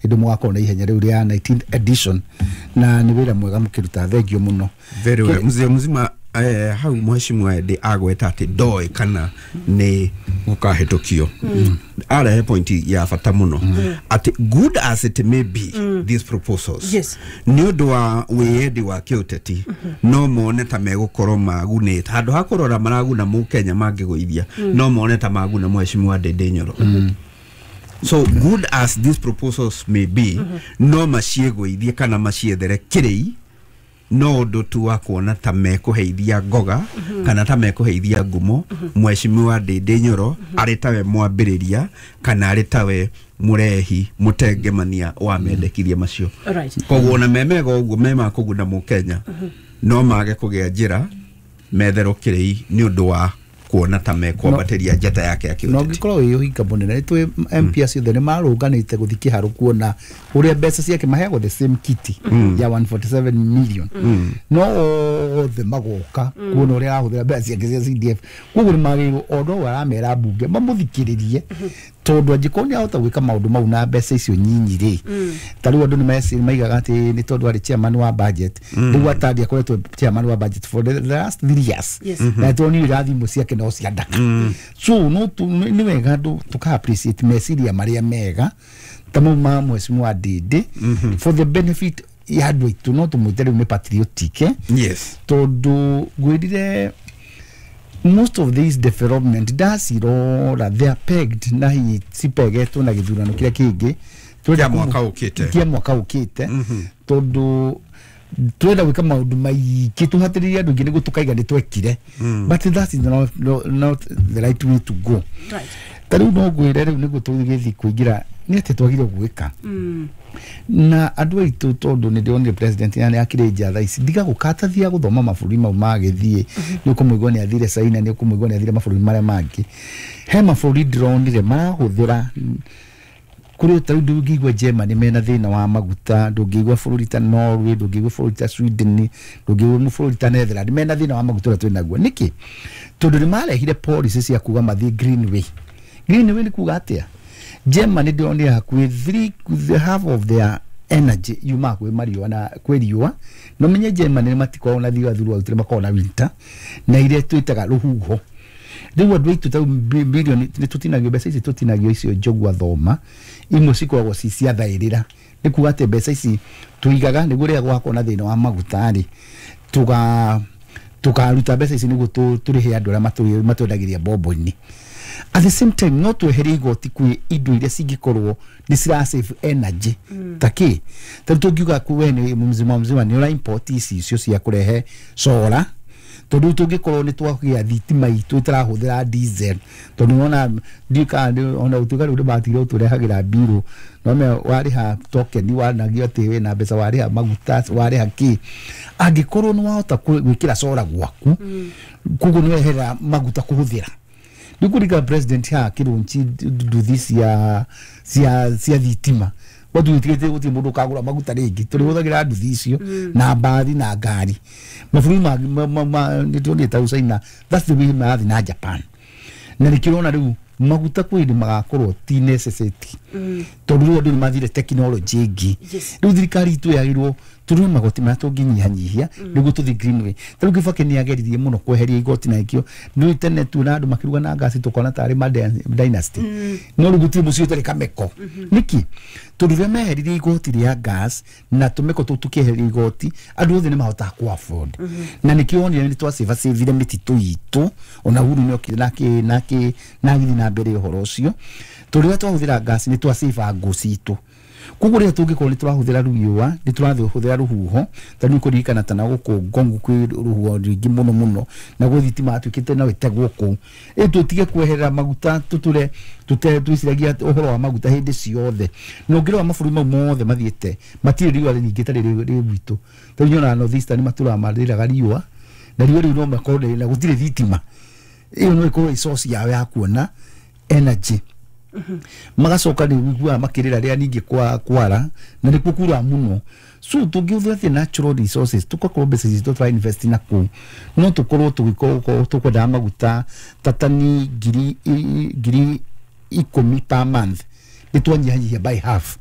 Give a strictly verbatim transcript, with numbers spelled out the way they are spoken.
Hĩndĩ mũgakorwo na ihenya rĩu rĩa nineteenth edition, na nĩ wĩra mwega mũkĩruta. Thengio mũno. Very well. Mzee mzima, eh, hau mheshimiwa Ndindi agweta atĩ ndoĩ kana nĩ gũkahĩtũkio, arehe point ya bata mũno atĩ good as it may be, these proposals, Yes. nĩ ũndũ wa wĩyendi wa kĩũteti, no mone ta megũkorwo magunĩte handũ ha kũrora maraguna mũkenya mangĩgũithia, no mone ta maguna mheshimiwa Ndindi Nyoro. So good as these proposals may be, no maciĩgũithie kana maciethere kĩrĩi no ũndũ tu wa kuona ta mekũheithia ngoga kana ta mekũheithia ngumo mheshimiwa Ndindi Nyoro arĩ tawe mwambĩrĩria kana arĩ tawe mũrehi mũtengemania wa mendekithia macio. Alright. Koguo ona me mega ũguo, me ma kũguna mũkenya, no mage kũgĩa njĩra metherwo kĩrĩi nĩ ũndũ wa kuona ta mekwambatĩria njata yake ya Na kĩũteti. ũngĩkorwo wĩ ũhinga mũnene, nĩ twĩ M P acio othe nĩ marũnganĩte gũthiĩ kĩharo kuona ũrĩa mbeca ciake maheagwo, the same kitty ya one hundred forty-seven million, no othe magoka kuona ũrĩa arahũthĩra mbeca ciake cia C D F. Koguo nĩ magĩrĩirwo o no aramera mbunge mamũthikĩrĩrie, tondũ angĩkorwo nĩ ahota gwĩka maũndũ mau na mbeca icio nyinyi rĩ, ta rĩu andũ nĩ meci- maigaga atĩ nĩ tondũ arĩ chairman wa budget. Rĩu Atandi akoretwo chairman wa budget for the last three years, Yes. na tondũ irathimo ciake no cia ndaka. So no tu- nĩ wega andũ tũka appreciate meciria marĩa mega ta mau ma mheshimiwa Ndindi for the benefit ya andũ aitũ. No tũmwĩte rĩu nĩ patriotic, eh? Yes. Tondũ ngwĩrire most of these development ndacirora, they are pegged na hihi cipegetwo na gĩthurano kĩrĩa kĩngĩ. Kĩa mwaka ũkĩte. Kĩa mwaka ũkĩte, tondũ twenda gwĩka maũndũ maingĩ tũhatĩrĩrie andũ aingĩ nĩguo tũkaiga nĩ twekire, but that is not, not, not the right way to go. Right. Ta rĩu no ngwĩre rĩu nĩguo tũgĩthiĩ kũingĩra nĩ atĩ twagire gwĩka na andũ aitũ, tondũ nĩ ndĩronire president ya nĩ akĩrĩ nja thaa ici ndiga gũkatathia gũthoma mabũrũri mau magĩthiĩ. Nĩ ũkũmũigua nĩ athire China, nĩ ũkũmũigua nĩ athire mabũrũri marĩa mangĩ. He mabũrũri ndĩronire marahũthĩra kũrĩ ta rĩu ndũngĩigua Germany mena thĩna wa maguta, ndũngĩigua bũrũri ta Norway, ndũngĩigua bũrũri ta Sweden, ndũngĩigua bũrũri ta Netherlands mena thĩna wa maguta ũrĩa twĩnaguo. Nĩkĩ? Tondũ nĩ marehire policy cia kuga mathiĩ green way. Green way nĩ kuga atĩa? Germany ndĩronire hakuhĩ three, the half of their energy yumaga kwĩ mariũa na kwĩ riũa. No menye Germany nĩ matikoragwo na riũa throughout, nĩ makoragwo na winter na iria twĩtaga rũhuho. Rĩu andũ aitũ ta bilioni nĩ tũtinagio mbeca ici, tũtinagio icio njogu athoma imwe cikoragwo ci cia thaĩrĩra. Nĩ kuga atĩ mbeca ici tũigaga nĩguo rĩrĩa gwakorwo na thĩna wa maguta rĩ, tuga tukaruta mbeca ici nĩguo tũ- tũrĩhe andũ arĩa matũ- matwendagĩria mbombo-inĩ. At the same time, no tweherie igoti kwĩ indo iria cingĩkorwo nĩ cira save energy, ta kĩ? Ta rĩu tũngiuga ku we nĩ mzima mzima nĩ ũra import ici icio cia kũrehe solar, tondũ rĩu tũngĩkorwo nĩ twagĩa thitima itũ ĩtarahũthĩra diesel, tondũ nĩwona ndiũĩ kana nĩ- ona gũtuĩka rĩu nĩ matigire gũtũrehagĩra mbirũ, no me warĩha token wanagio atĩ wĩna mbeca, warĩha maguta, warĩha kĩ. Angĩkorwo nĩ wahota kwĩ- gwĩkĩra solar gwaku, koguo nĩ weherera maguta kũhũthĩra. Nĩ kũringa president haha kĩrũnci nduthi cia cia cia thitima, gwatuĩkĩte gũtirĩ mũndũ ũkagũra maguta rĩngĩ, tũrĩhũthagĩra nduthi icio na mbathi na ngari. Mabũrũri mangĩ ma- ma- ma- nĩ tuonire ta China, that's the way marathiĩ, na Japan, na nĩkĩo ũrona rĩu maguta kwĩ hĩndĩ magakorwo ti necessity, tondũ rĩu andũ nĩ mathire technology ĩngĩ. Yes. Rĩu thirikari itũ yagĩrĩirwo tũrore magoti marĩa tũngĩnyihanyihia nĩguo tũthiĩ green way. Ta rĩu Kibaki nĩ ageririe mũno kweheria igoti, na ikio nĩ tene tuona andũ makĩruga na ngasi tũkona tarĩ ma dynasty, no rĩu gũtirĩ mũciĩ ũtarĩ kameko. Nĩkĩ? Tondũ rĩrĩa meheririe igoti rĩa gas na tũmeko tũu tũkĩeheria igoti, andũ othe nĩ mahotaga ku afford, na nĩkĩo wonire nĩ twacĩbacĩbire mĩtitũ itũ. Ona Uhuru nĩ okire na akĩ- na akĩ- na agĩthiĩ na mbere ũhoro ũcio, tondũ rĩrĩa twahũthĩra gas nĩ twacĩba ngũ citũ. Koguo rĩrĩa tũngĩkorwo nĩ tũrahũthĩra riũa, nĩ tũrahũthĩra rũhuho, ta rĩu kũririkana ta na gũkũ Ngongu kwĩ rũhuho rũingĩ mũno mũno, na gwĩ thitima yatuĩkĩte no ĩtegwo kũu. Ĩ tũtige kweherera maguta, tũtũre tũte twĩciragia ũhoro wa maguta hĩndĩ ciothe. Na ũngĩrora mabũrũri mau mothe mathiĩte matirĩ riũa rĩnyingĩ ta rĩrĩ rĩ gwitũ. Ta rĩu nyonaga North Eastern matũraga marĩraga riũa, na riũa rĩu no makorwo rĩ- na gũtirĩ thitima. Ĩyo no ĩkorwo ĩ source yao ya kuona energy. Magacoka nĩ ũiguaga makĩrĩra rĩrĩa ningĩ kwa kwara na nĩkuo kuraga mũno. So tũngĩhũthĩra atĩ natural resources, tũgakorwo mbeca citũ tũra invest na kũu, no tũkorwo tũgĩkorwo tũkwendaga maguta ta tani ngiri i- ngiri ikũmi per month, nĩ twanyihanyihia by half.